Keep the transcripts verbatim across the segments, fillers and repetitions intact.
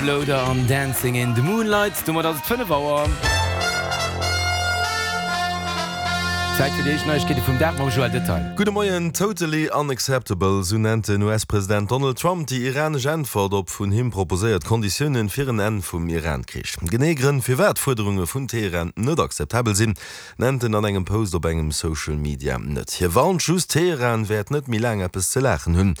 Loader an Dancing in the Moonlight. Domat ass et fënnef Auer. Zäit fir déi éischt Neiegkeete vum Dag mam Joël Detail. Gudde Moien. Totally unacceptable, sou nennt den U S-President Donald Trump déi iranesch Äntwert op vun him proposéiert Konditiounen fir en Enn vum Iran-Krich. Genee Grënn, firwat d'Fuerderunge vun Teheran net akzeptabel sinn, nennt en an engem Post op engem Social Media net. Hie warnt just, Teheran wäert net méi laang eppes ze laachen hunn.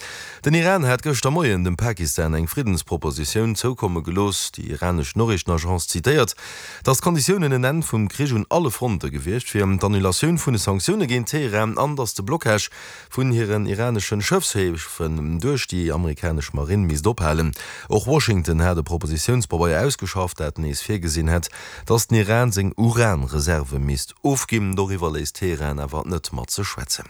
Den Iran hat gëschter Moien dem Pakistan eng Friddenspropositioun zoukomme gelooss. Déi iranesch Noriichtenagence zitéiert, datt d'Konditiounen en Enn vum Krich un alle Fronte gewiescht wier, d'Annulatioun vun de Sanktioune géint Teheran an datt de Blockage vun hiren iranesche Schëffshäfen duerch déi amerikanesch Marinn misst ophalen. Och Washington hat e Propositiounspabeier ausgeschafft, dat nees virgesinn hätt, datt den Iran seng Uran-Reserve misst ofginn. Doriwwer léisst Teheran awer net mat sech schwätzen.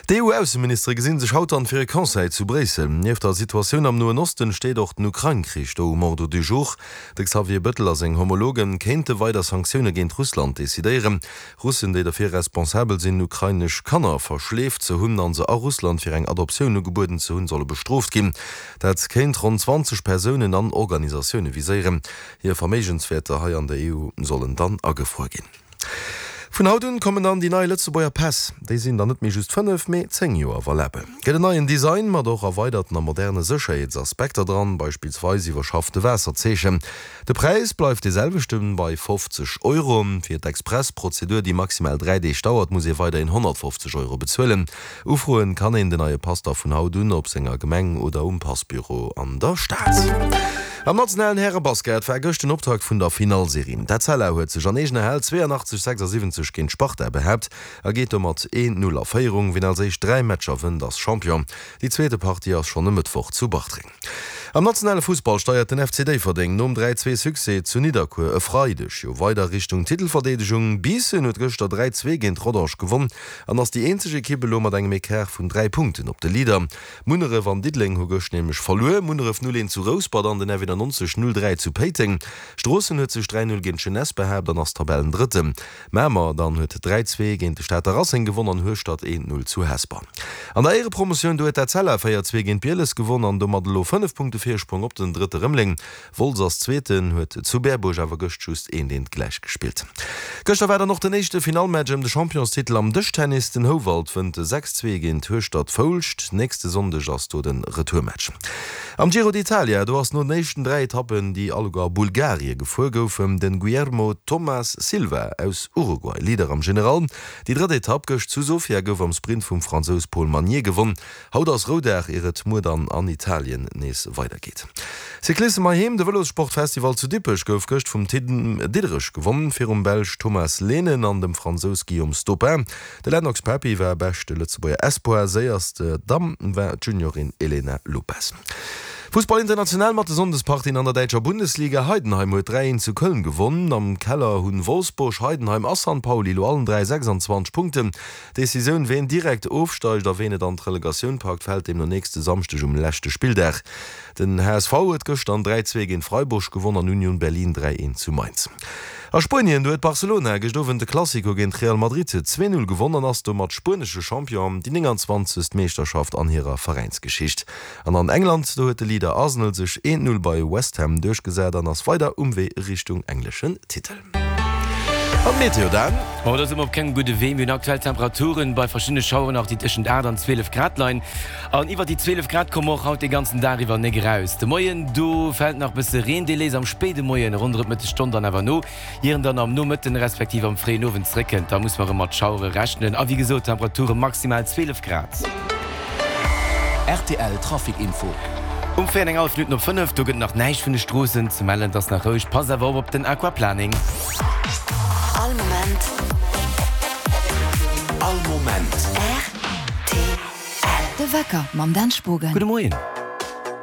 D'E U-Ausseministere gesinn sech haut dann fir e Conseil zu Bréissel. Nieft der Situatioun am Noen Osten steet och den Ukrain-Krich do um Ordre du jour. De Xavier Bettel a seng Homologe kéinte weider Sanktioune géint Russland decidéieren. Russen, déi derfir responsabel sinn, ukrainesch Kanner verschleeft ze hunn an se a Russland fir eng Adoptioun ugebueden ze hunn, solle bestrooft ginn. Dat kéint ronn zwanzeg Persounen an Organisatioune viséieren. Hir Verméigenswäerter hei an der E U sollen dann agefruer ginn. Vun haut un kommen dann déi nei Lëtzebuerger Päss. Déi sinn dann net méi just fënnef, mee zéng Joer valabel. Gëtt en neien Design mat och erweiderten a moderne Sécherheetsaspekter dran, beispillsweis iwwerschaffte Waasserzeechen. De Präis bleift dee selwechten, bei fofzeg Euro. Fir d'Express-Prozedur, déi maximal dräi Deeg dauert, muss ee weiderhin honnertfofzeg Euro bezuelen. Ufroen kann een den neie Pass da vun haut un op senger Gemeng oder um Passbüro an der Stad. Am nationalen Härebasket war gëscht den Optakt vun der Finallserie. D'Etzella huet sech an eegener Hal zweeanachtzeg, sechsasiwwenzeg géint d'Sparta behaapt a geet domat een, Null a Féierung. Wien als éischt dräi Matcher wënnt, ass Champion. Déi zweete Partie ass schonn e Mëttwoch zu Bartreng. Am nationale Fussball steiert den F C Déifferdeng nom dräi, zwee Succès zu Nidderkuer e Freideg jo weider Richtung Titelverdeedegung. Biissen huet gëschter dräi, zwee géint Rodange gewonn an ass déi eenzeg Ekipp elo mat engem Ecart vun dräi Punkten op de Leader. Munneref an Diddeleng hu gëscht nämlech verluer, Munneref null eent zu Rouspert an den F eenannonzeg null dräi zu Péiteng. Stroossen huet sech dräi null géint d'Jeunesse behaapt an ass Tabellendrëtten. Mamer dann huet dräi zwee géint de Stater Racing gewonn an Hueschtert eent null zu Hesper. An der Éierepromotioun, do huet d'Etzella véier zwee géint Bieles gewonn an domat elo fënnef Punkte Virsprong op den Drëtte Rëmeleng. Wolz ass Zweeten, huet zu Berbuerg awer gëscht just eent eent gläich gespillt. Gëschter war dann och den éischte Finallmatch ëm de Championstitel am Dëschtennis. Den Houwald wënnt sechs zwee géint Hueschtert Foulscht. Nächste Sonndeg ass do de Retourmatch. Am Giro d'Italia, do ass no den éischten dräi Etappen, déi alleguer a Bulgarie gefuer goufen, de Guillermo Tomas Silva aus Uruguay Leader am General. Déi drëtt Etapp gëscht zu Sofia gouf am Sprint vum Fransous Paul Magnier gewonn. Haut ass Roudag, ier et muer dann an Italien nees weidergeet. Cyclissem heiheem, De Vëlossportfestival zu Dippech gouf gëscht vum Tim Diederich gewonn, virum Belsch Thomas Lehnen an dem Fransous Guillaume Stopin. De Lennox Papi war beschte Lëtzebuerger Espoir, séierste Damm war d'Juniorin Elena Lopes. Fussball international mat de Sonndespartien an der däitscher Bundesliga, Heidenheim huet dräi eent zu Köln gewonn. Am Keller hunn Wolfsburg, Heidenheim a San Pauli elo allen dräi sechsanzwanzeg Punkten. D'Decisioun, ween direkt ofsteigt a ween et an d'Relegatioun packt, fält deemno nächste Samschdeg um leschte Spilldag. Den H S V huet gëschter dräi zwee géint Freiburg gewonn an Union Berlin dräi eent zu Mainz. A Spuenien, do huet Barcelona gëscht Owend de Clasico géint Real Madrid zwee null gewonn an ass domat spuenesche Champion, déi nénganzwanzegst Meeschterschaft an hirer Veräinsgeschicht. An an England, do huet de Leader Arsenal sech eent null bei West Ham duerchgesat an ass weider um Wee Richtung engleschen Titel. An d'Meteo dann? Oh, do si mer op kengem gudde Wee. Mir hunn aktuell Temperaturen bei verschiddene Schaueren nach, déi tëschent aacht an zwielef Grad leien. An iwwer déi zwielef Grad komme mer och haut de ganzen Dag iwwer nek eraus. De Moien, do fält nach bësse Reen, dee léisst am spéide Moien ronderëm d'Mëttesstonn dann awer no, ier en dann am Nomëtten respektiv am fréien Owend zréckkënnt. Da muss mer erëm mat Schauere rechnen. A wéi gesot, Temperature maximal zwielef Grad. R T L Trafic Info. Um véier an eng hallef Minutten op fënnef, do gëtt nach näischt vun de Stroossen ze mellen, et ass nach roueg. Passt awer op op den Aquaplaning. All Moment. All Moment. R T L. De Wecker mam Dan Spogen. Gudde Moien.